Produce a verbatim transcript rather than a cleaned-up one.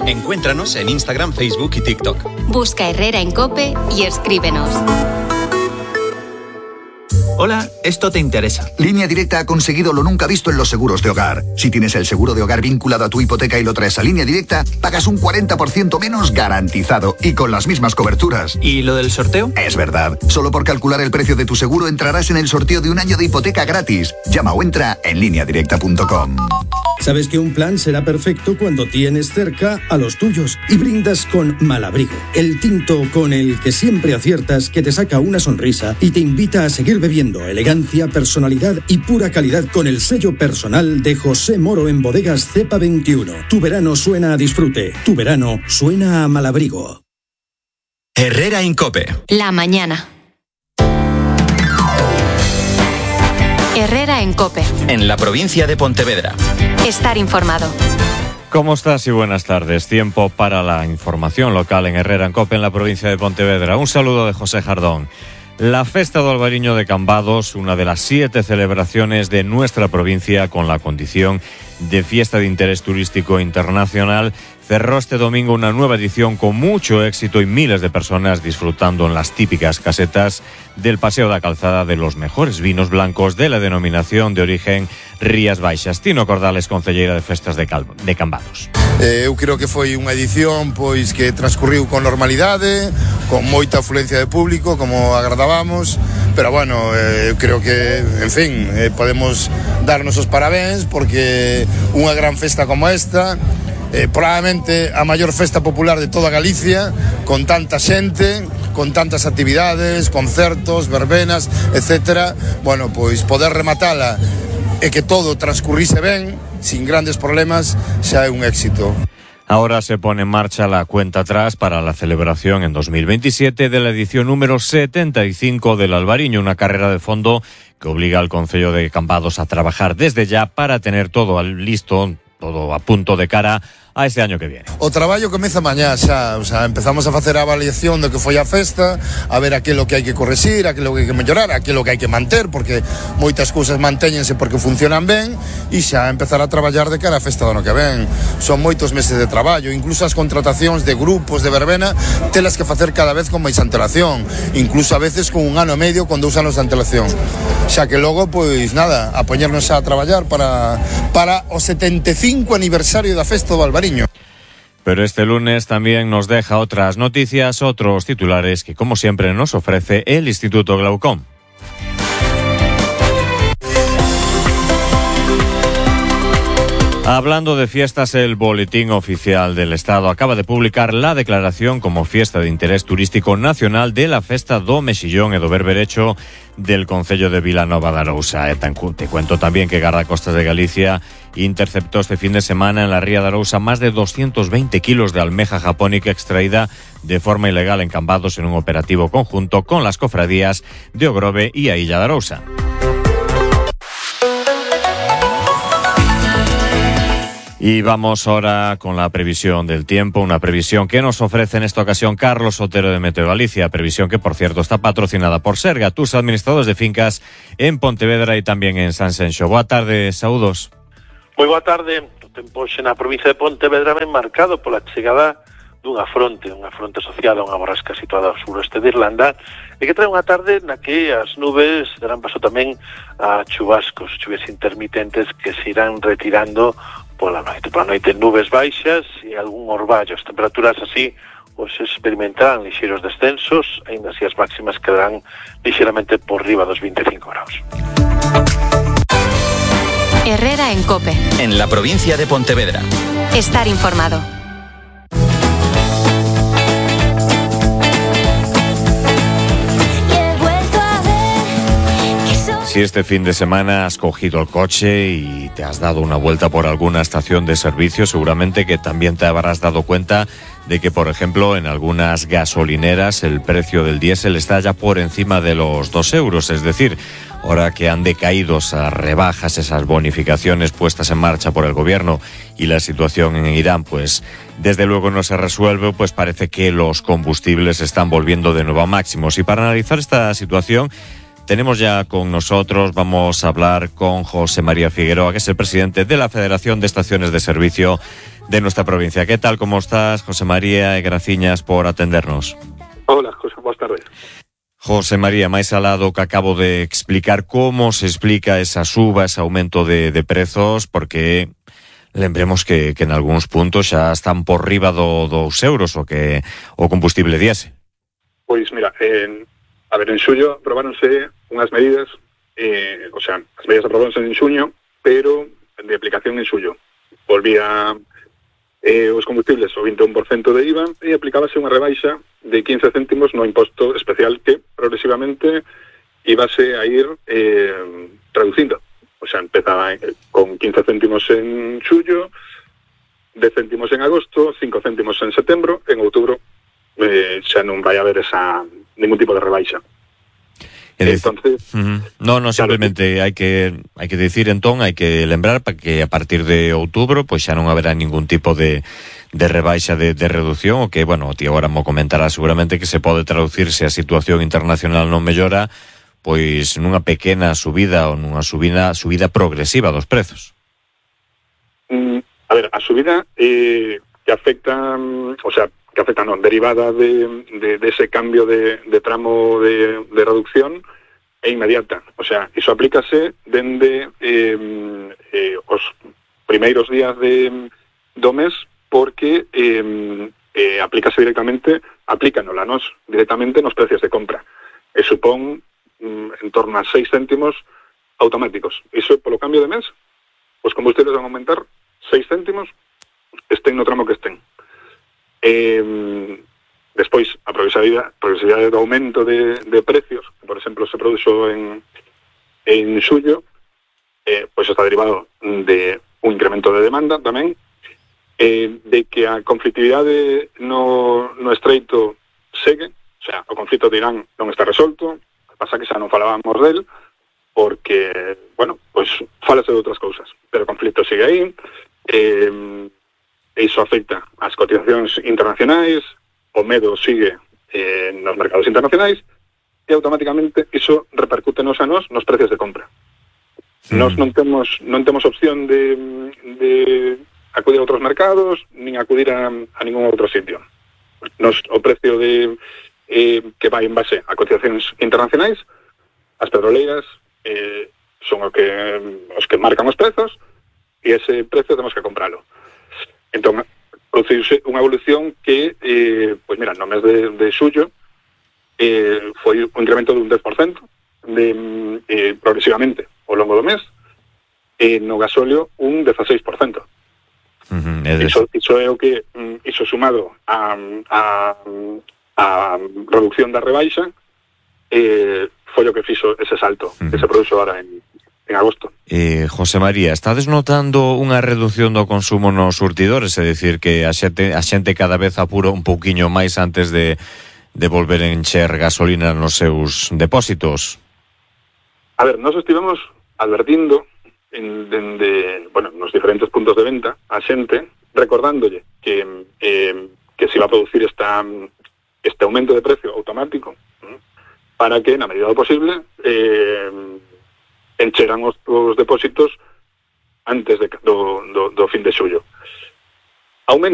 Encuéntranos en Instagram, Facebook y TikTok. Busca Herrera en COPE y escríbenos. Hola, esto te interesa. Línea Directa ha conseguido lo nunca visto en los seguros de hogar. Si tienes el seguro de hogar vinculado a tu hipoteca y lo traes a Línea Directa, pagas un cuarenta por ciento menos garantizado y con las mismas coberturas. ¿Y lo del sorteo? Es verdad. Solo por calcular el precio de tu seguro entrarás en el sorteo de un año de hipoteca gratis. Llama o entra en línea directa punto com. Sabes que un plan será perfecto cuando tienes cerca a los tuyos y brindas con Malabrigo, el tinto con el que siempre aciertas, que te saca una sonrisa y te invita a seguir bebiendo. Elegancia, personalidad y pura calidad con el sello personal de José Moro en Bodegas Cepa veintiuno. Tu verano suena a disfrute, tu verano suena a Malabrigo. Herrera en COPE. La mañana. Herrera en COPE. En la provincia de Pontevedra. Estar informado. ¿Cómo estás y buenas tardes? Tiempo para la información local en Herrera en COPE en la provincia de Pontevedra. Un saludo de José Jardón. La Festa do Albariño de Cambados, una de las siete celebraciones de nuestra provincia con la condición de fiesta de interés turístico internacional, cerró este domingo una nueva edición con mucho éxito y miles de personas disfrutando en las típicas casetas del Paseo da Calzada de los mejores vinos blancos de la denominación de origen Rías Baixas. Tino Cordales, concelleira de Festas de, Cal- de Cambados. Eh, eu creo que foi unha edición pois que transcurriu con normalidade, con moita afluencia de público, como agradábamos, pero bueno, eh, eu creo que, en fin, eh, podemos darnos os parabéns porque unha gran festa como esta, eh, probablemente a maior festa popular de toda Galicia, con tanta xente, con tantas actividades, concertos, verbenas, etcétera. Bueno, pois poder rematala e que todo transcurrise ben, sin grandes problemas, xa é un éxito. Ahora se pone en marcha la cuenta atrás para la celebración en dos mil veintisiete de la edición número setenta y cinco del Albariño, una carrera de fondo que obliga al Concello de Cambados a trabajar desde ya para tener todo listo, todo a punto de cara a este año que viene. O traballo comeza mañá xa, o sea, empezamos a facer a avaliación do que foi a festa, a ver aquilo que hai que correxir, aquilo que hai que mellorar, aquilo que hai que manter, porque moitas cousas mantéñense porque funcionan ben, e xa empezar a traballar de cara a festa do ano que ven. Son moitos meses de traballo, incluso as contratacións de grupos de verbena telas que facer cada vez con máis antelación, incluso a veces con un ano e medio con dous anos de antelación. Xa que logo, pois nada, a poñernos a traballar para, para o setenta e cinco aniversario da festa do Albariño. Pero este lunes también nos deja otras noticias, otros titulares que, como siempre, nos ofrece el Instituto Glaucom. Hablando de fiestas, el Boletín Oficial del Estado acaba de publicar la declaración como fiesta de interés turístico nacional de la Festa do Mexillón e do Berberecho del Concello de Vilanova de Arousa. Te cuento también que Guardacostas de Galicia interceptó este fin de semana en la Ría de Arousa más de doscientos veinte kilos de almeja japónica extraída de forma ilegal en Cambados en un operativo conjunto con las cofradías de Ogrove y a Illa de Arousa. Y vamos ahora con la previsión del tiempo, una previsión que nos ofrece en esta ocasión Carlos Otero de Meteo Galicia, previsión que por cierto está patrocinada por Serga, tus administradores de fincas en Pontevedra y también en Sanxenxo. Boa tarde, saúdos. Moi boa tarde. O tempo xe na provincia de Pontevedra ben marcado pola chegada dunha fronte, unha fronte asociada a unha borrasca situada ao suroeste de Irlanda, e que trae unha tarde na que as nubes darán paso tamén a chubascos, chuvias intermitentes que se irán retirando pola noite. Pola noite nubes baixas e algún orballo. As temperaturas así os experimentarán lixeiros descensos, aínda así as máximas quedarán lixeiramente por riba dos vinte e cinco graus. Herrera en COPE. En la provincia de Pontevedra. Estar informado. Si este fin de semana has cogido el coche y te has dado una vuelta por alguna estación de servicio, seguramente que también te habrás dado cuenta de que, por ejemplo, en algunas gasolineras el precio del diésel está ya por encima de los dos euros. Es decir, ahora que han decaído esas rebajas, esas bonificaciones puestas en marcha por el gobierno y la situación en Irán, pues desde luego no se resuelve, pues parece que los combustibles están volviendo de nuevo a máximos. Y para analizar esta situación, tenemos ya con nosotros, vamos a hablar con José María Figueroa, que es el presidente de la Federación de Estaciones de Servicio de nuestra provincia. ¿Qué tal? ¿Cómo estás, José María? Y graciñas por atendernos. Hola, José, buenas tardes. José María, máis alado que acabo de explicar como se explica esa suba, ese aumento de, de prezos, porque lembremos que, que en algúns puntos xa están por riba do dos euros o que o combustible diésel. Pois mira, en, a ver, en xullo aprobáronse unhas medidas, eh, o sea, as medidas aprobáronse en xuño, pero de aplicación en xullo. Volvía eh, os combustibles o vinte e un por cento de I V A e aplicábase unha rebaixa de quince céntimos no imposto especial que progresivamente íbase a ir eh, reducindo. O sea, empezaba con quince céntimos en xullo, dez céntimos en agosto, cinco céntimos en setembro, en outubro eh, xa non vai haber esa ningún tipo de rebaixa. Entonces, uh-huh. No, no, simplemente hai que hai que decir entón, hai que lembrar para que a partir de outubro pois xa non haberá ningún tipo de de rebaixa de, de reducción, o que, bueno, ti agora mo comentará seguramente que se pode traducir se a situación internacional non mellora, pois nunha pequena subida ou nunha subida subida progresiva dos prezos. Mm, a ver, a subida eh, que afecta, o sea, que afecta non, derivada de, de, de ese cambio de, de tramo de, de reducción é inmediata. O sea, iso aplícase dende eh, eh, os primeiros días de, do mes porque eh, eh, aplícase directamente, aplícanos nos directamente nos precios de compra. E supón mm, en torno a seis céntimos automáticos. Iso polo cambio de mes, os combustibles van a aumentar seis céntimos, estén no tramo que estén. Eh, despois, a progresividade, progresividade do aumento de, de precios, que, por exemplo, se produxo en, en xullo, eh, pois está derivado de un incremento de demanda tamén, eh, de que a conflictividade no, no estreito segue, o sea, o conflito de Irán non está resolto, pasa que xa non falábamos del, porque, bueno, pois falase de outras cousas, pero o conflito sigue aí, eh, e iso afecta as cotizacións internacionais, o medo sigue eh, nos mercados internacionais e automáticamente iso repercútenos a nós nos precios de compra. Mm. Nós non temos non temos opción de, de acudir a outros mercados nin acudir a, a ningún outro sitio. Nos, o precio de eh, que vai en base a cotizacións internacionais, as petroleiras eh, son o que, os que marcan os prezos e ese precio temos que compralo. Entón, produciuse unha evolución que, eh, pois mira, no mes de, de xullo eh, foi un incremento dun dez por cento de, eh, progresivamente ao longo do mes, e no gasóleo un dieciséis por cento. Uh-huh, é iso, iso é o que, iso sumado a, a, a reducción da rebaixa, eh, foi o que fixo ese salto, uh-huh, que se produxo ahora en en agosto. Eh, José María, estades notando unha reducción do consumo nos surtidores? É dicir, que a xente, a xente cada vez apura un pouquiño máis antes de, de volver a encher gasolina nos seus depósitos? A ver, nós estivemos advertindo en, en de, bueno, nos diferentes puntos de venta a xente, recordándolle que, eh, que se iba a producir esta, este aumento de precio automático, ¿eh? Para que, na medida do posible, eh, encheran os, os depósitos antes de, do, do, do fin de xullo. Aumenta